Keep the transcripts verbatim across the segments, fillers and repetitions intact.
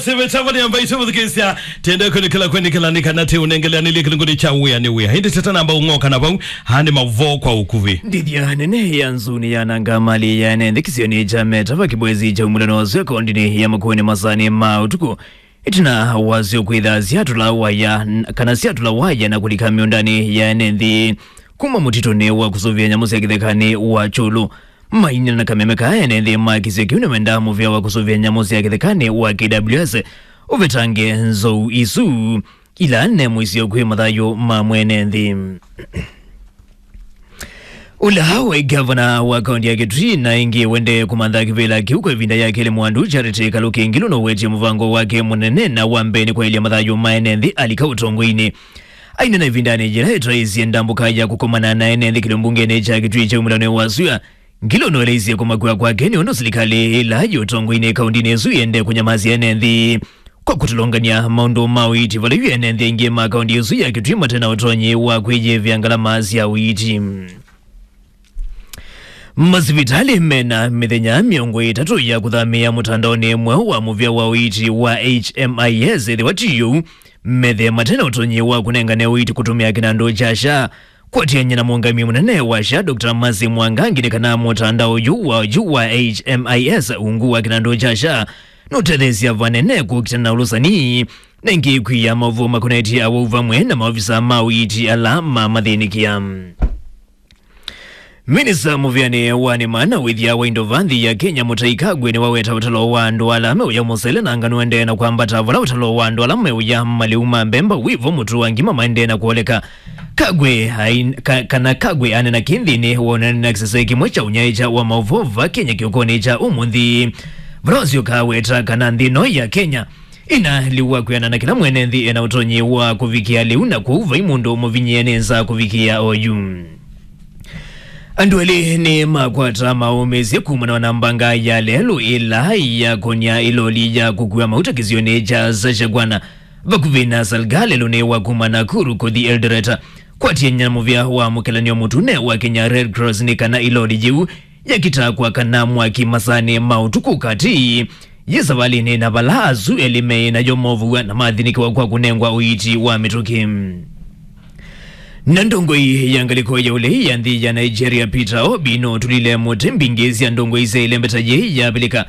Sivitavani ambayo ĩtũvũthukĩĩsya, tende kũnĩkĩla kwendekela nĩ kana tĩ ũnengeleanĩlye kĩlungu nĩ kya wĩa nĩ wĩa. Ĩndĩ tete namba ũng'oka na vau, haa nĩ mavoo kwa ũkuvĩ. Ndĩthya nene ya nzunĩ ya nanga mali ya ene nthĩ kĩsionĩ kya Metava kĩbwezi kya umulano wa sua kaũndĩnĩ ya Makueni masaanĩ ma ũtukũ. Ĩtina wasyo kwĩtha syatũla waya, n-, kana syatũla waya na kũlika mĩũndanĩ ya ene nthĩ kuma mũtitũnĩ wa kũsũvĩa nyamũ sya kĩthekanĩ wa Kyũlũ. Mainena na kameme ka ene nthĩ ma kĩsio kĩu nĩmendaa mũvĩa wa kũsũvĩa nyamũ sya kĩthekanĩ wa K W S ũvetange nzou isu ila ne mũisyo kwĩ mathayũ ma mwene nthĩ. Ũla waĩ gavana wa kaũntĩ ya Kitui na ĩngĩ wendee kũmantha kĩvĩla kĩu kwa ĩvinda ya kelĩ, Mwandu Charity Kaluki Ngilu nũwetie mũvango wake mũnene na wa mbee nĩ kwaĩlya mathayũ ma ene nthĩ alika ũtongoinĩ. Ainena ĩvindanĩ yĩla ĩtaĩisye ndambũka ya kũkomana na ene nthĩ kĩlĩo mbungenĩ kya Kitui kya umulano wa sua, Ngilu nũeleisye kũmakw'a kwake nĩ ũndũ silikalĩ ĩla yĩ ũtongoinĩ kaũndĩnĩ ĩsu yende kũnyamasya ene nthĩ kwa kũtũlũngany'a maũndũ ma ũiiti vala yu ene nthĩ aingĩ ma kaũndĩ ĩsu ya Kitui mate na ũtonyi wa kwĩyĩvĩa ngalama sya ũiiti. Masivitalĩ mena mĩthenya mĩongo ĩtatũ ya kũthamĩĩa mũtandaonĩ mweũ wa mũvĩa wa ũiiti wa H M I S, ĩthĩwa ti ũu, methe mate na ũtonyi wa kũnengane ũiiti kũtũmĩa kĩnandũ kya SHA. Kwatĩanĩa na mũũngamĩi mũnene wa SHA, Doctor Mercy Mwangangi, nĩ kana mũtandao ũyũ wa, ũyũ wa H M I S, ungu wa kĩnandũ kya SHA, nũtetheesya vanene kũkitana na ũlũsani, na ĩngĩ kwia maũvoo makonetye awau vamwe na maovisa ma ũiiti ala mamathĩnĩkĩa. Minista mũvĩanĩ wa nĩma na wĩthya wa indo va nthĩ ya Kenya, Mũtai Kagwe, nĩwaweta ũtalo wa andũ ala meũya mũsele na ngano ende na kwambata, vala ũtalo wa andũ ala meũya malĩu ma mbemba wĩvo, mũtu wa ngima maendee na kũoleka. Kagwe ain-, ka-, kana Kagwe anena kĩ nthĩnĩ wa ũnene na kĩsese kĩmwe kya ũnyaĩĩkya wa maũvoo va Kenya kĩokonĩ kya ũmũnthĩ, vala wasyoka aweta kana nthĩ ĩno ya Kenya ĩna lĩu wa kwĩanana na kĩla mwene nthĩ ena ũtonyi wa kũvikĩa lĩu, na kwoou vai mũndũ mũvinyĩe nĩ nza kũvikĩa oyu. Andũ elĩ nĩ makwata maũmĩsye kumana na mbanga ya lelũ ĩla yakonya ĩloli ya kũkua mauta kĩsionĩ kya Sashagwana vakuvĩ na Salga, lelũ nĩ wa kuma Nakuru kũthi Eldoret. Kwatĩanĩa na mũvĩa wa mũkelanĩo mũtune wa Kenya Red Cross, nĩ kana ĩloli yĩu yakita kwakana mwaki masaanĩ ma ũtukũ katĩ yĩ savalĩnĩ na vala asu elĩ meĩ nayo movũw'a na mathinĩkĩwa kwa kũnengwa ũiiti wa mĩtũkĩ. Na ndongoi ya ngalĩko ya ũlei ya nthĩ ya Nigeria, Peter Obi, nũtũlile mũtĩ mbingĩ sya ndongoi sya ĩlembeta yĩĩ yavilĩka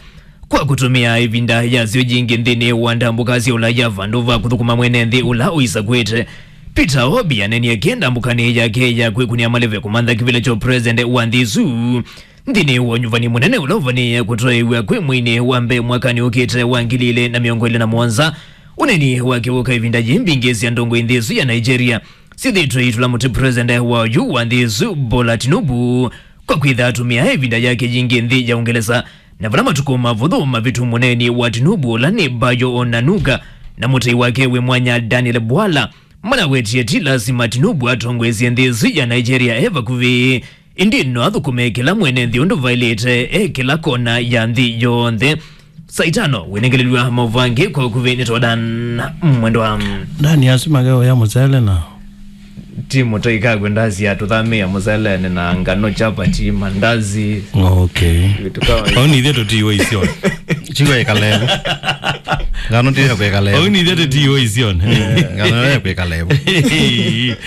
kwa kũtũmĩa ĩvinda yasyo yingĩ nthĩnĩ wa ndambũka sya ũlaya vandũ va kũthũkũma mwene nthĩ ũla ũisakwĩte. Peter Obi anenie kĩ ndambũkanĩ yake ya kwĩkũnĩa maleve kũmantha kĩvĩla kya president wa nthĩ ĩsu nthĩnĩ wa ũnyuvani mũnene ũla ũvanĩĩe kũtwaĩw'a kwĩ mweinĩ wa mbee mwakanĩ ũkĩte wa ngili ilĩ na mĩongo ĩlĩ na mũonza. Ũneni wake wũka ĩvinda yĩĩ mbingĩ sya ndongoi nthĩ ĩsu ya Nigeria syĩthĩĩtwe itũla mũtĩ president wa oyu wa nthĩ ĩsu, Bola Tinubu, kwa kwĩtha atũmĩa ĩvinda yake yingĩ nthĩ ya Ũngelesa, na vala matukũ mavũthũ mavĩtu mũneeni wa Tinubu ũla nĩ Bayo Onanuga na mũtei wake wĩ mwanya Daniel Bwala manawetie ti lasima Tinubu atongoesye nthĩ ĩsu ya Nigeria e vakuvĩ, ĩndĩ no athũkũme kĩla mwene nthĩ ũndũ vaĩlĩte e kĩla kona ya nthĩ yonthe. Saa itano wĩnengelelw'a maũvangĩ kwa ũkuvĩ nĩ Todan Mwendwa. Ndani asu makeũya mũsele na ti mũtoi Kagwe ndasi atũthamĩa mũselenĩ na ngano, chapati, mandazi. Okay. Vitu kama hivyo. Au nithe tũtiwe isyoni. Chigo ĩkalevu. Ngano ndiyo kwĩkalevu. Au nithe tũtiwe isyoni. Ngano ya kwĩkalevu.